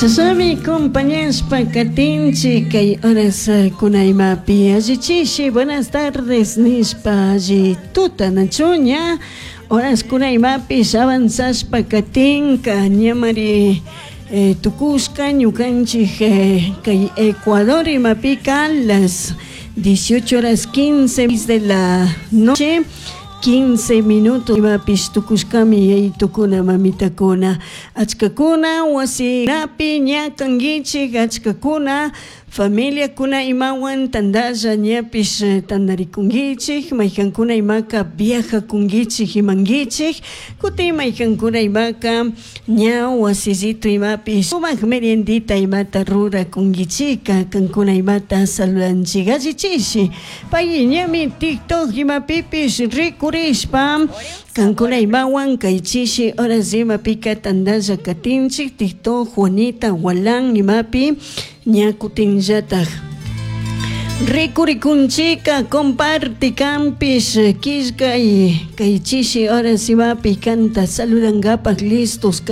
Chashnami compañashpa katinchik kay horas kuna imapi allichishi buenas tardes nishpa alli tuta nachu ña horas kuna imapish avanzashpa katinka ñamari tukushka ñukanchik kay Ecuador imapika las 18 horas 15 de la noche 15 minutos imapish tukushkami yayitukuna mamitakuna achkakuna wasinapi ña kankichik achkakuna familiakuna imawan tandalla ñapish tandarikunkichik maykankuna imaka viajakunkichik imankichik kutin maykankuna imaka ña wasillito imapish sumak meriendita imata rurakunkichika kankuna imata saludanchik allichishi pay ñami TikTok imapipish rikurishpa kankuna imawan kay chishi horas imapika tandalla katinchik TikTok Juanita Gualán imapi ña kutinllatak rikurikunchika comparte kanpish killkay kay chishi horas imapi kanta saludankapak listos.